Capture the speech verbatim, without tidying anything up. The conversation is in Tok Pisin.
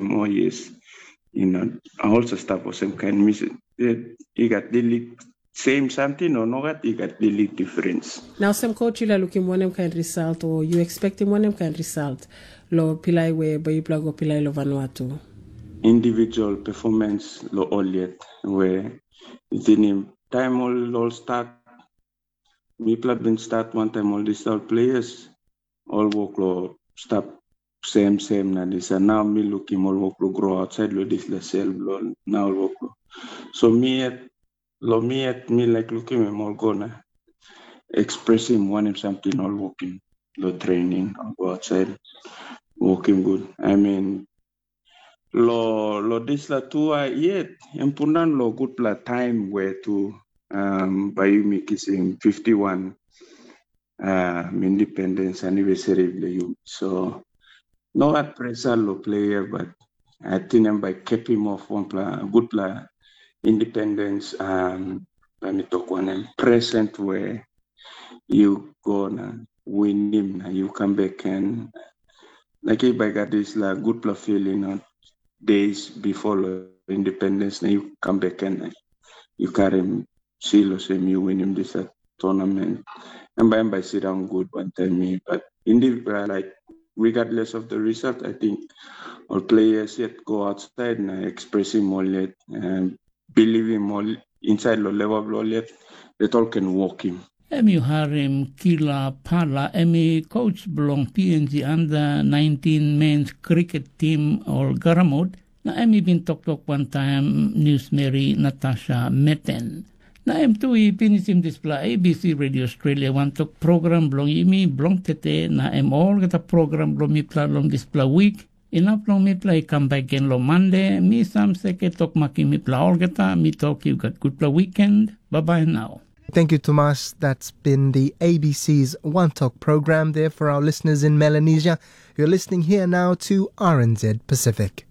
Oh yes, you know, I also stap olsem kain mi se, eh, i gat delete same something o nogat, i gat delete difference. Na olsem coach, yu laik lukim wanem kain result o yu expectim wanem kain result lo pilai we bai yupela go pilai lo Vanuatu? Individual performance lo ol yet we yu tingim taim ol ol start, mipela bin start wantaim ol disaut players, ol wok lo stap sem sem na disa. Nau mi lukim ol wok lo grow outside lo dispela sel blo na ol wok lo. So mi yet, lo mi yet mi laik lukim em ol go na expressim wanem samting ol wokim lo training, ol go outside, wokim gut. I mean, lo lo dispela tua yet em pundaun lo gutpela taim we tu, um, bai yumi kisim fifty-one, um, independence anniversary bilong yumi. So no gat pressure lo player, but I think em bai kepim off wanpela gutpela independence, um, bai mi tok wanem, present we you go na winim na you come back and like if I got this la gutpela feeling on days before lo independence na you come back and you carry him seal or same you win him this uh, tournament. And by and by sit down good one time me. But in the uh, like regardless of the result, I think all players yet go outside and express him all yet and believe him all inside lo level of all yet that all can walk him. Em yu harim Kila Pala, em i coach bilong P N G under nineteen men's cricket team ol Garamut, na em i bin toktok wantaim newsmeri Natasha Meten. Na em tu i pinisim dispela A B C Radio Australia wantok program bilong yumi bilong tete, na em olgeta program bilong mipela long dispela wik. Inap long mipela i kam bek gen long Mande, mi Sam Seke tok makim mipela olgeta, mi tok yu gat gutpela wiken, babai nau. Thank you, Tomas. That's been the A B C's One Talk program there for our listeners in Melanesia. You're listening here now to R N Z Pacific.